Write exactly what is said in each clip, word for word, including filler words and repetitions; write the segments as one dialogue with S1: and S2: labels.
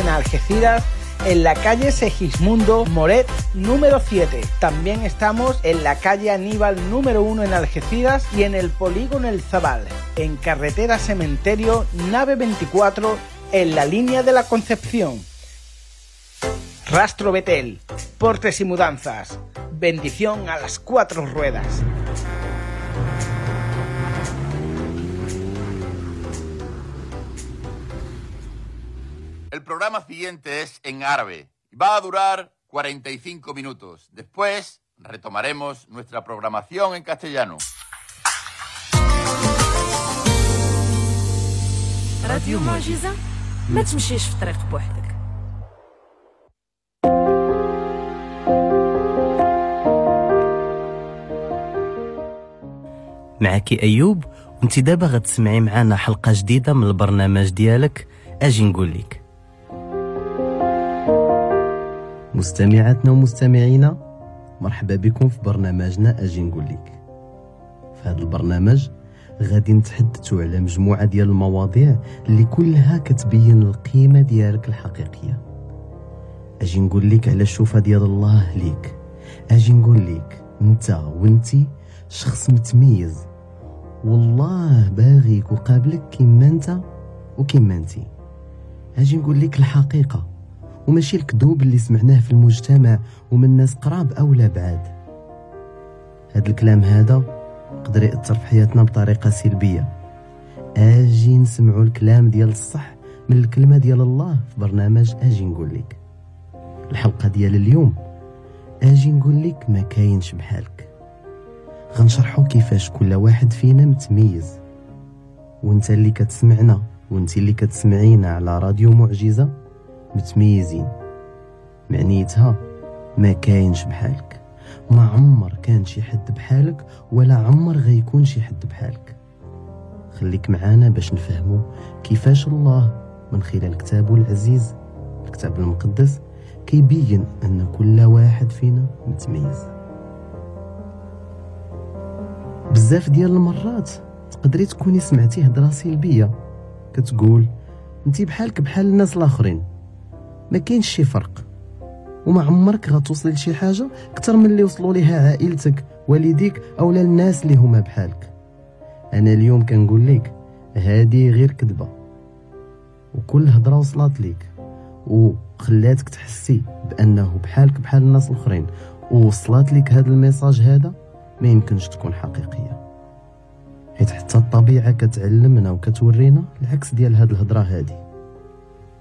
S1: En Algeciras, en la calle Segismundo Moret número siete. También estamos en la calle Aníbal número uno en Algeciras y en el Polígono El Zabal, en carretera Cementerio, nave veinticuatro, en la línea de la Concepción. Rastro Betel, portes y mudanzas. Bendición a las cuatro ruedas.
S2: El programa siguiente es en árabe. Va a durar cuarenta y cinco minutos. Después retomaremos nuestra programación en castellano.
S3: راديو معجزة، ما تمشيش في الطريق بوحدك.
S4: معك أيوب، وانت دابا غتسمعي معنا حلقة جديدة من البرنامج ديالك أجي نقول لك. مستمعاتنا ومستمعينا، مرحبا بكم في برنامجنا أجي نقول لك. في هذا البرنامج غادي نتحدثوا على مجموعة ديال المواضيع اللي كلها كتبين القيمة ديالك الحقيقية. أجي نقول لك على الشوفة ديال الله ليك. أجي نقول لك انت وانتي شخص متميز، والله باغيك وقابلك كما انت وكما انتي. أجي نقول لك الحقيقة وماشي الكذوب اللي سمعناه في المجتمع ومن ناس قراب أو لا بعاد. هاد الكلام هذا يقدر يأثر في حياتنا بطريقة سلبية. أجي نسمعوا الكلام ديال الصح من الكلمة ديال الله في برنامج أجي نقول لك. الحلقة ديال اليوم أجي نقول لك ما كاينش بحالك. غنشرحوا كيفاش كل واحد فينا متميز، وانت اللي كتسمعنا وانت اللي كتسمعينا على راديو معجزة متميزين. معنيتها ما كاينش بحالك، ما عمر كان شي حد بحالك ولا عمر غيكون شي حد بحالك. خليك معانا باش نفهمو كيفاش الله من خلال كتابه العزيز الكتاب المقدس كيبين أن كل واحد فينا متميز. بزاف ديال المرات تقدري تكوني سمعتي هضره سلبيه كتقول انتي بحالك بحال الناس الاخرين، ما كاينش شي فرق، وما عمرك غتوصلي لشي حاجه اكثر من اللي وصلوا ليها عائلتك والديك او الناس اللي هما بحالك. انا اليوم كنقول لك هذه غير كذبه، وكل هضره وصلت لك وخلاتك تحسي بانه بحالك بحال الناس الاخرين ووصلت لك هذا ال message هذا ما يمكنش تكون حقيقيه، حيت حتى الطبيعه كتعلمنا وكتورينا العكس ديال هاد الهضره هادي.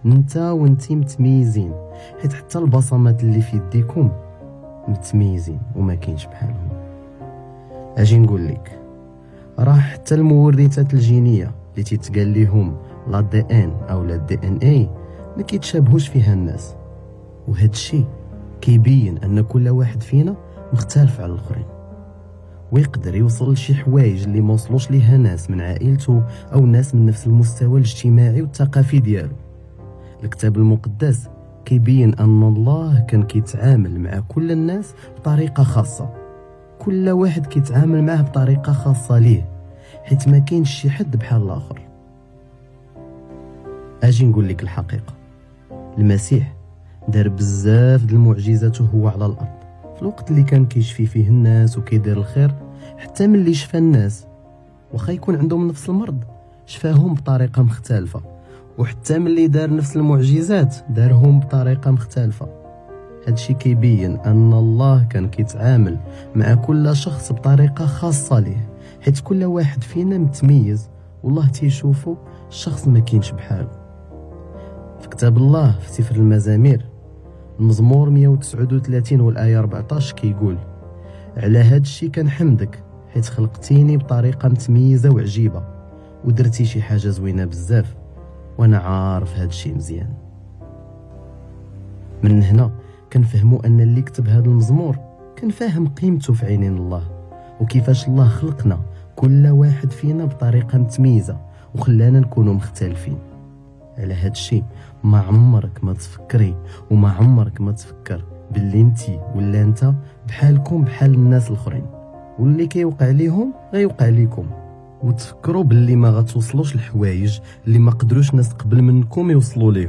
S4: انت وانتي متميزين، حيت حتى البصمات اللي في يديكم متميزين وما كاينش بحالهم. اجي نقول لك راه حتى المورثات الجينيه اللي تيتقال ليهم l'ADN او لا DNA ما كيتشابهوش فيها الناس، وهذا الشيء كيبين ان كل واحد فينا مختلف على الاخرين، ويقدر يوصل لشي حوايج اللي ما وصلوش ليها ناس من عائلته او ناس من نفس المستوى الاجتماعي والثقافي ديالو. الكتاب المقدس كيبين ان الله كان كيتعامل مع كل الناس بطريقه خاصه، كل واحد كيتعامل معه بطريقه خاصه ليه، حيت ما كاينش شي حد بحال الاخر. اجي نقول لك الحقيقه، المسيح دار بزاف د المعجزات وهو على الارض في الوقت اللي كان كيشفي فيه الناس وكيدير الخير. حتى ملي شفى الناس واخا يكون عندهم نفس المرض شفاهم بطريقه مختلفه، وحتى ملي دار نفس المعجزات دارهم بطريقه مختلفه. هادشي كيبين ان الله كان كيتعامل مع كل شخص بطريقه خاصه ليه، حيت كل واحد فينا متميز والله تيشوفو الشخص ما كاينش بحاله. في كتاب الله في سفر المزامير المزمور مية وتسعة وثلاثين والآية أربعة عشر كيقول: على هاد الشي كنحمدك حيت خلقتيني بطريقة متميزة وعجيبة ودرتي شي حاجة زوينة بزاف وانا عارف هاد الشي مزيان. من هنا كنفهموا ان اللي كتب هاد المزمور كان فاهم قيمته في عينين الله، وكيفاش الله خلقنا كل واحد فينا بطريقة متميزة وخلانا نكونوا مختلفين. على هاد الشيء ما عمرك ما تفكري وما عمرك ما تفكر باللي انتي ولا انت بحالكم بحال الناس الاخرين، واللي كيوقع ليهم غيوقع ليكم، وتفكروا باللي ما غتوصلوش الحوايج اللي ما قدروش ناس قبل منكم يوصلوا ليهم.